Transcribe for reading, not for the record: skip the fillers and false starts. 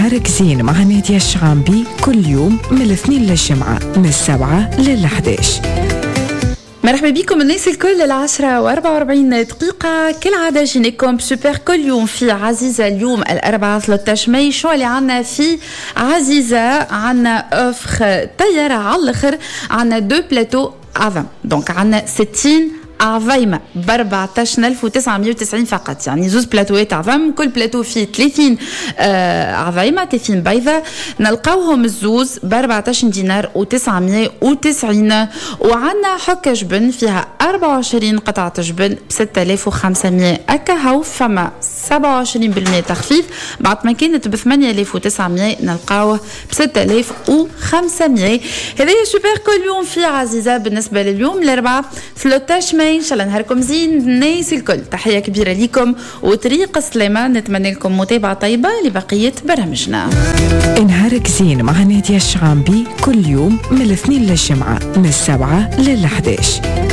نهارك زين مع نادية الشعامبي، كل يوم من الاثنين للجمعة من 7 لل11. مرحبا بكم الناس الكل، 10:44، كالعادة جيناكم سوبر كل يوم في عزيزة. اليوم الأربعاء 13 ماي، شو اللي عنا في عزيزة؟ عنا offre طيارة على الآخر، عنا deux plateaux عظم، donc عنا 60 عظيمة ب 14990 فقط، يعني زوز بلاتوات عظم، كل بلاتو فيه 30 عظيمة، 30 بيضة، نلقاوهم الزوز ب 14 دينار و990. وعندنا حكة جبن فيها 24 قطعة جبن ب 6500 أكاهو، فما 27% تخفيض، بعد ما كانت ب 8900 نلقاوه ب 6500. هذا سوبر كل يوم في عزيزة بالنسبة لليوم الأربعاء 13 ماي. ان شاء الله نهاركم زين الناس الكل، تحية كبيرة لكم وطريق السلامه، نتمنى لكم متابعه طيبة لبقية برامجنا. نهارك زين مع نادية الشعامبي، كل يوم من الاثنين للجمعة من 7 لل11.